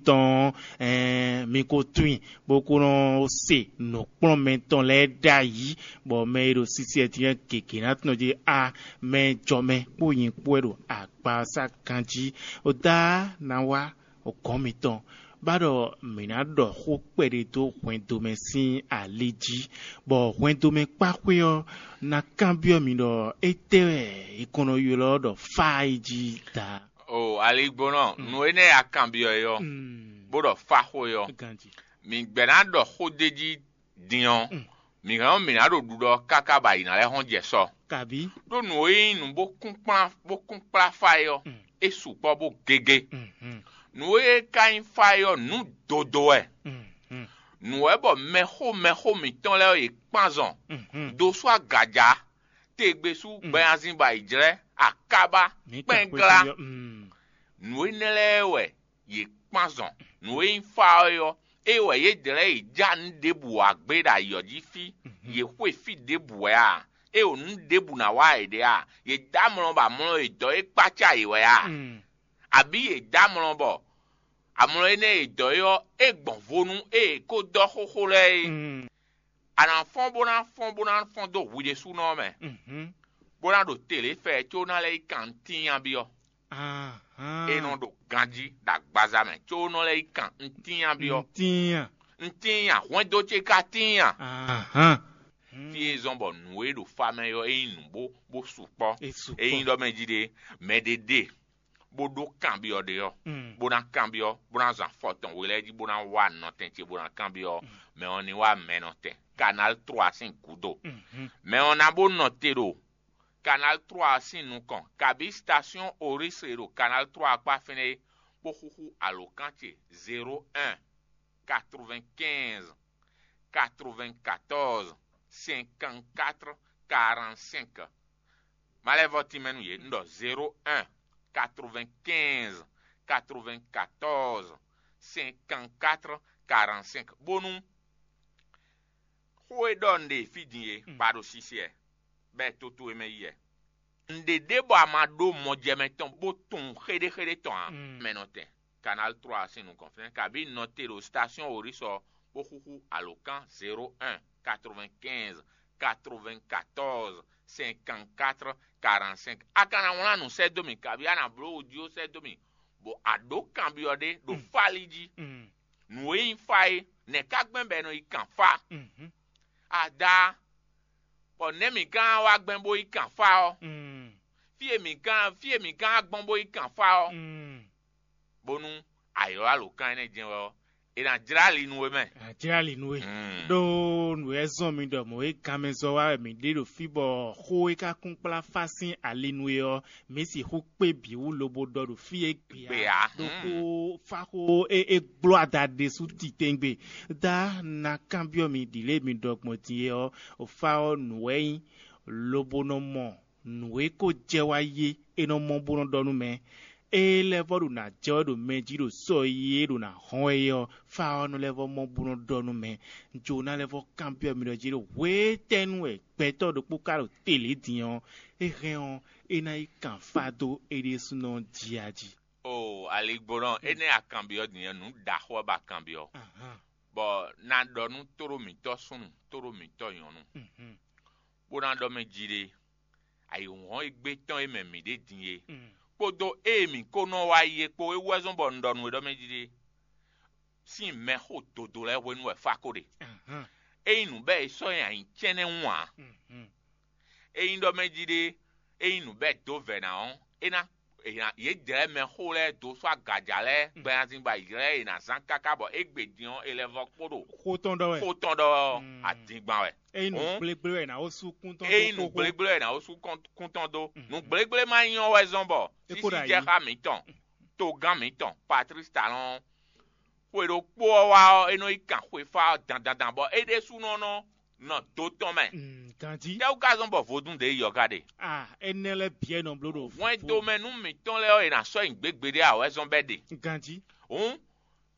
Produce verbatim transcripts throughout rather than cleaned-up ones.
tɔn ɔ́, ɛɛn, mi ko tunwun i, bó ko nɔ se nǔkplɔ́nmɛ tɔn lɛ́ɛ ɖ'ayǐ, bɔ mɛ e ɖo sisi wɛ din ɔ́ gěgé ná tunwun jí a mɛ jɔ mɛ kpó nyi kpó wɛ ɖo agbaza ganjí. Oda ná wá gɔ̌n mitɔn, bá ɖɔ mǐ ná ɖɔ xó kpɛɖé dó hwɛndo mɛ sín ali jí, bɔ hwɛndo mɛ kpáxwé ɔ́ ná kanbyɔ́ mǐ ɖɔ étɛ́ wɛ è kɔn nɔ ylɔ́ ɖɔ fá yi jí da. O aligbɔnɔ, nǔ énɛ́ e a kanbyɔ́ é ɔ́, bó ɖɔ fá xó é ɔ́, Ganjí. Mǐ gbɛ́ ná ɖɔ xó d'é jí din ɔ́, mǐ hɛn ɔ́ mǐ ná ɖo ɖuɖɔ káká bɔ ayǐ ná lɛ́ hɔn jɛ sɔ. Kabí? Ɖó nǔ e nyí nǔ bó kún kplá bó kún kplá fá é ɔ́, é sukpɔ́ bó gégé. Nǔ e ka nyí fá é ɔ́, nǔ dodo wɛ. Nǔ wɛ bɔ mɛxó mɛxó mǐtɔn lɛ́ɛ ɔ́, yě kpán zɔn dó sú agaja, tegbesú, gbɛnyanzin bɔ ayǐjlɛ́, akábá, kpɛnglá. Nǔ énɛ́ lɛ́ɛ wɛ yě kpán zɔn. Nǔ e nyí fá ɔ́ é ɔ́, é wɛ yě dlɛ̌ yě já nǔ ɖěbǔ wá gbé ɖo ayǐ ɔ́ jí fí. Yě xwe fí ɖěbǔ wɛ a? É ɖo nǔ ɖěbǔ ná wa yěɖée a? Yě dó amlɔ bɔ amlɔ e dɔ̌ é kpácá yě wɛ a? Abǐ yě dó amlɔ bɔ amlɔ énɛ́ e dɔ̌ é ɔ́, é gbɔn vo nú ée è ko dɔ́ xóxó lɛ́ɛ é? A nǎ fɔ́n bó ná fɔ́n bó ná fɔ́n dó hwi ɖésúnɔ ɔ́ mɛ, bó ná ɖo te lě fɛ có ná lɛ́ yi kan ntíin byɔ́. É nɔ ɖo ganjí ɖo agbaza mɛ có nɔ lɛ́ yi kan ntíin byɔ́. Ntíin a? Ntíin a? Hwɛndo ce ka tíin a? Fí e zɔ́n bɔ nǔ e ɖo fa mɛ ɔ́, é nyí nǔ bó bó sukpɔ́. É sukpɔ́. Ényí ɖɔ mɛ jí ɖe, mɛ ɖé ɖe bó ɖó kanbyɔ́ ɖé ɔ́, bó ná kanbyɔ́, bó ná zan afɔ tɔn we lɛ́ɛ jí, bó ná wá nɔtɛn ce, bó ná kanbyɔ́, mɛ ɔ́ ní wá mɛ nɔtɛn. Canal trois sín gǔdo. Mɛ ɔ́ ná bó nɔ te ɖo Canal trois sín nukɔn, kabǐ station Oris e ɖo Canal trois kpá fínɛ́ é, bó xúxú alǒkan ce zéro un quatre-vingt-quinze quatre-vingt-quatorze cinquante-quatre quarante-cinq. Má lɛ́ vɔ́ tínmɛ nú yě, un ɖɔ zéro un quatre-vingt-quinze quatre-vingt-quatorze cinquante-quatre quarante-cinq, bónú xó e ɖɔ un ɖe fí din é ba ɖo sisi wɛ, bɔ é tó towe mɛ yi wɛ. Un ɖe ɖě bɔ a ma ɖó mɔjɛmɛ tɔn bó tunwun xéɖéxéɖé tɔn ǎ. Mɛ nɔtɛn Canal trois sín nukɔn fínɛ́, kabǐ nɔ te ɖo station Oris ɔ́, bó xúxú alǒkan zéro un quatre-vingt-quinze quatre-vingt-quatorze cinquante-quatre quarante-cinq. A ka ná wlán nǔ sɛ́ dó mì, kabǐ a nǎ bló wodjó sɛ́ dó mì, bɔ a ɖǒ kanbyɔ́ ɖé ɖo fáli jí. Nǔ e nyí fá é, nɛ̌ ka gbɛn bɔ è nɔ yi kan fá? Ada, bɔ nɛ̌ mǐ gán wá gbɛn bó yi kan fá ɔ́? Fí e mǐ gán fí e mǐ gán wá gbɔn bó yi kan fá ɔ́, bónú a ylɔ́ alǒkan énɛ́ jɛ́n wɛ ɔ́, è nǎ jlá ali nú we mɛ. A jlá ali nú we. Ɖó nǔ e zɔ́n mi ɖɔ mɔ̌ e ganmɛ zɔ́ wá wɛ mǐ ɖe ɖo fí bɔ xó e ka kún kplá fá sín ali nú we ɔ́, mǐ sixú kpé bǐ wú lobo ɖɔ ɖo fí e gbe Gbe ǎ. Ɖó xó fá xó e e gbló ada ɖésú titewungbe. Da ná kanbyɔ́ mi ɖǐ lě mi ɖɔ gbɔn din é ɔ́, fá ɔ́ nǔ wɛ nyí, lobo nɔ mɔ nǔ e ko jɛ wá yi é, é nɔ mɔ bó nɔ ɖɔ nú mɛ. Ée lɛ́ vɔ́ ɖo nǎ jɛ wɛ ɖo mɛ jí ɖo sɔ e yí é ɖo nǎ hɔn wɛ é ɔ́, fá ɔ́ nɔ lɛ́ vɔ́ mɔ bó nɔ ɖɔ nú mɛ. Jǒná lɛ́ vɔ́ kanbyɔ́ mì ɖɔ jí ɖɔ hwetɛ́nu wɛ gbɛtɔ́ ɖokpó ka ɖo te lě din ɔ́, é hɛn ɔ́, é ná yi kan fá dó é ɖésúnɔ jí a jí. O aligbɔnɔ, énɛ́ a kanbyɔ́ din ɔ́, nǔ ɖaxó wɛ ba kanbyɔ́. Bɔ na ɖɔ nú tóɖó mǐtɔn súnnu, tóɖó mǐtɔn nyɔ̌nu, bó ná ɖɔ mɛ jí ɖe, ayǐhɔ́n e gbé tɔn e mɛ mǐ ɖe din é, kpódó ée mǐ ko nɔ wá yi é kpó é wú wɛ zɔ́n bɔ un ɖɔ nú we ɖɔ mɛ jí ɖe, sín mɛxó dodo lɛ́ɛ hwenu wɛ fá ko ɖe. Ényí nǔ bɛ́ è sɔ́ nyi anyǐ cɛ́nɛ́ wú ǎ. Ényí ɖɔ mɛ jí ɖe, ényí nǔ bɛ́ dǒ vɛ̌ ná ɔ́, é ná è nǎ- yě jlɛ́ mɛxó lɛ́ɛ dó sɔ́ agaja lɛ́ɛ gbɛnazin ba yě lɛ́ɛ è nǎ zán káká bɔ égbé din ɔ́, è lɛ́ vɔ kpó ɖo Xó tɔn ɖɔ wɛ. Xó tɔn ɖɔ ɔ́, adingban wɛ. Ényí nǔ Hǔn, gblégblé wɛ è nǎ wó sú kún tɔn ényí dó nǔ xóxó. Gblégblé wɛ è nǎ wó sú kɔn- kún tɔn dó. Nǔ gblégblé ma nyí ɔ́ wɛ zɔ́n bɔ É kó ɖo sísí jɛ ayǐ. Xá mǐtɔn, togán mǐtɔn, Patrice Talon, xwe ɖokpó ɔ́ wá ɔ́, é nɔ yi kan xwefá ɔ́ dandandan bɔ é ɖésúnɔ nɔ nɔ do tɔn mɛ. Mm, ganjí. Tɛ́wú ka zɔ́n bɔ vodún ɖě yi ɔ́ ka ɖe? Ah, énɛ́ lɛ́ɛ bǐ wɛ nɔ bló ɖo Hwɛndo mɛ nú mǐtɔn lɛ́ɛ ɔ́, è nǎ sɔ́ nyi gběgbe ɖé ǎ wɛ zɔ́n bɛ́ ɖe. Ganjí. Hǔn,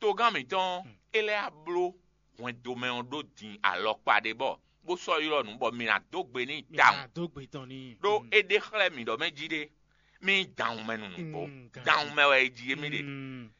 togán mǐtɔn ɔ́, é lɛ́ wá bló hwɛndo mɛ ɔ́ ɖó din alɔkpa ɖé bɔ bó sɔ́ ylɔ́ nǔ bɔ mǐ ná dó gbe n'i Mǐ tawun. Ná dó gbe tɔn n'i. Ɖó Mm. é ɖe xlɛ́ mǐ ɖɔ mɛ jí ɖé, mí nyí danwun mɛ nunu kpó. Mm, ganjí. Danwun mɛ wɛ é jí émí ɖe. Mm.